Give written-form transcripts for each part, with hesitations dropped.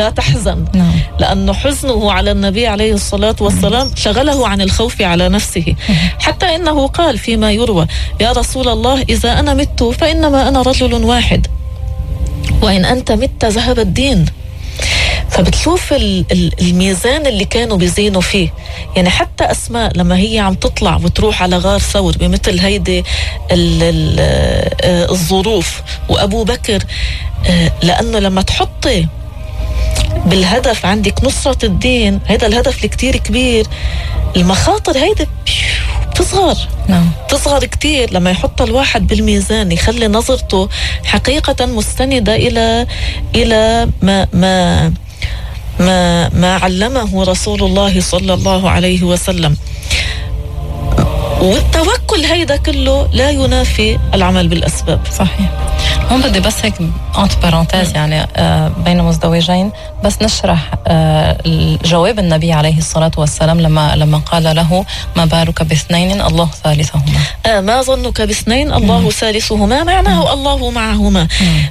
لا تحزن. لأنه حزنه على النبي عليه الصلاة والسلام شغله عن الخوف على نفسه، حتى إنه قال فيما يروى: يا رسول الله، إذا أنا مت فإنما أنا رجل واحد، وإن أنت مت ذهب الدين. فبتشوف الميزان اللي كانوا بيزينوا فيه. يعني حتى أسماء لما هي عم تطلع وتروح على غار ثور بمثل هيدي الظروف، وأبو بكر لأنه لما تحطي بالهدف عندك نصرة الدين، هذا الهدف الكتير كبير، المخاطر هيدا بتصغر. تصغر كتير لما يحط الواحد بالميزان، يخلي نظرته حقيقة مستندة إلى ما علمه رسول الله صلى الله عليه وسلم. والتوكل هيدا كله لا ينافي العمل بالأسباب. صحيح. هون بدي بس هيك انت بارانتيز يعني بين مزدوجين بس نشرح جواب النبي عليه الصلاة والسلام لما قال له: ما بالك باثنين الله ثالثهما. ما ظنك باثنين الله ثالثهما، معناه الله معهما.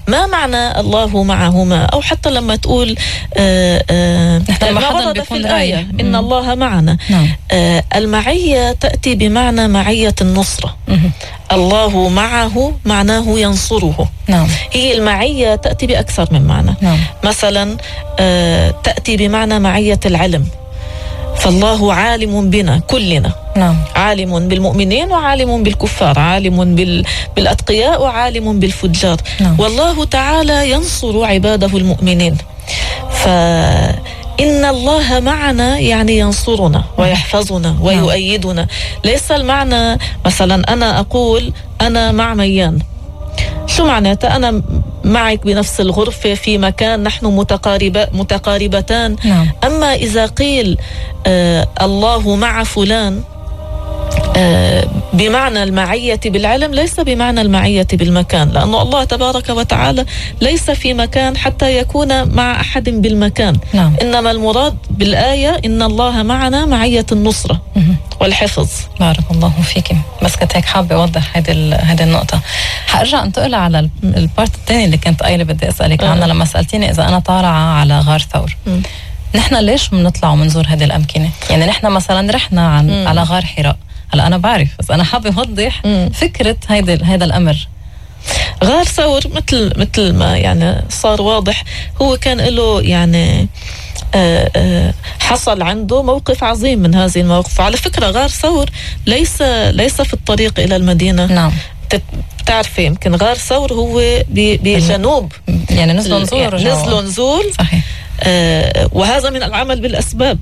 ما معنى الله معهما؟ أو حتى لما تقول ما ورد في الآية إن الله معنا. المعية تأتي بمعنى معية النصرة. الله معه معناه ينصره. هي المعية تأتي بأكثر من معنى. مثلا تأتي بمعنى معية العلم، فالله عالم بنا كلنا. عالم بالمؤمنين وعالم بالكفار، عالم بالأتقياء وعالم بالفجار. والله تعالى ينصر عباده المؤمنين. إن الله معنا يعني ينصرنا ويحفظنا ويؤيدنا. ليس المعنى مثلا أنا أقول أنا مع ميان، شو معناته؟ أنا معك بنفس الغرفة في مكان نحن متقاربتان. أما إذا قيل الله مع فلان بمعنى المعية بالعلم، ليس بمعنى المعية بالمكان، لأنه الله تبارك وتعالى ليس في مكان حتى يكون مع أحد بالمكان. إنما المراد بالآية إن الله معنا معية النصرة والحفظ. بارك الله فيك. بس كنت هيك حابة أوضح هذه النقطة. حأرجع أنتقل على البارت الثاني اللي كنت قايلة بدي أسألك عنها لما سألتيني إذا أنا طالعة على غار ثور. نحن ليش بنطلع ومنزور هذه الأمكنة؟ يعني نحن مثلا رحنا على غار حراء. هلا أنا بعرف، بس أنا حابة أوضح فكرة هذا الأمر. غار ثور مثل ما يعني صار واضح، هو كان له يعني حصل عنده موقف عظيم من هذه المواقف. على فكرة غار ثور ليس في الطريق إلى المدينة. بتعرفي يمكن غار ثور هو بجنوب، يعني نزلوا نزول. صحيح. وهذا من العمل بالأسباب.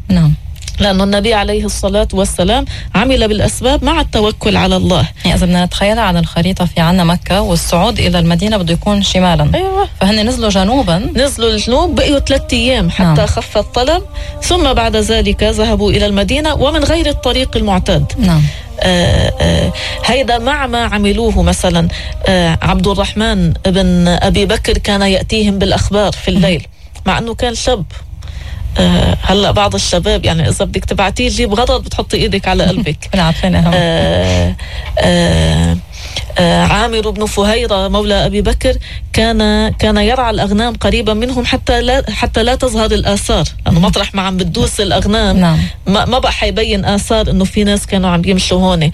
لأنه النبي عليه الصلاة والسلام عمل بالأسباب مع التوكل على الله. يعني إذا بدنا نتخيلها على الخريطة، في عنا مكة والصعود إلى المدينة بده يكون شمالا. أيوة. فهن نزلوا جنوبا، نزلوا الجنوب، بقيوا 3 أيام حتى خف الطلب، ثم بعد ذلك ذهبوا إلى المدينة ومن غير الطريق المعتاد. هيدا مع ما عملوه. مثلا عبد الرحمن بن أبي بكر كان يأتيهم بالأخبار في الليل، مع أنه كان شاب. هلا بعض الشباب يعني إذا بدك تبعتيه جيب غضب بتحطي إيدك على قلبك. عامر بن فهيرة مولى أبي بكر كان يرعى الأغنام قريبا منهم حتى لا تظهر الآثار، لأنه مطرح ما عم بتدوس الأغنام ما بقى حيبين آثار إنه في ناس كانوا عم يمشوا هون.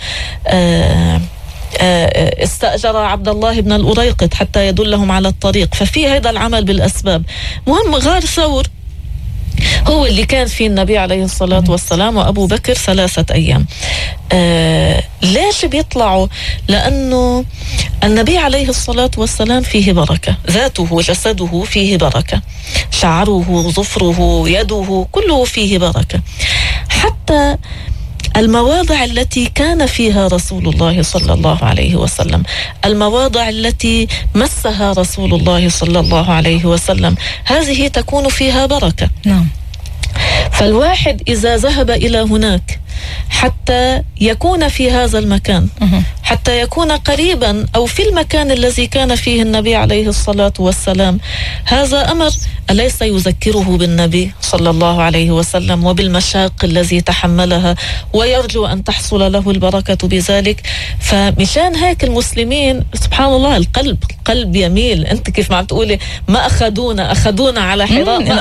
استأجر عبد الله بن الأريقط حتى يدلهم على الطريق. ففي هذا العمل بالأسباب. مهم غار ثور هو اللي كان فيه النبي عليه الصلاة والسلام وأبو بكر 3 أيام. ليش بيطلعوا؟ لأنه النبي عليه الصلاة والسلام فيه بركة، ذاته وجسده فيه بركة، شعره، ظفره، يده، كله فيه بركة. حتى المواضع التي كان فيها رسول الله صلى الله عليه وسلم، المواضع التي مسها رسول الله صلى الله عليه وسلم، هذه تكون فيها بركة. فالواحد إذا ذهب إلى هناك حتى يكون في هذا المكان، حتى يكون قريبا أو في المكان الذي كان فيه النبي عليه الصلاة والسلام، هذا أمر أليس يذكره بالنبي صلى الله عليه وسلم وبالمشاق الذي تحملها، ويرجو أن تحصل له البركة بذلك. فمشان هيك المسلمين سبحان الله القلب يميل. أنت كيف ما عم تقولي ما أخذونا على حراء،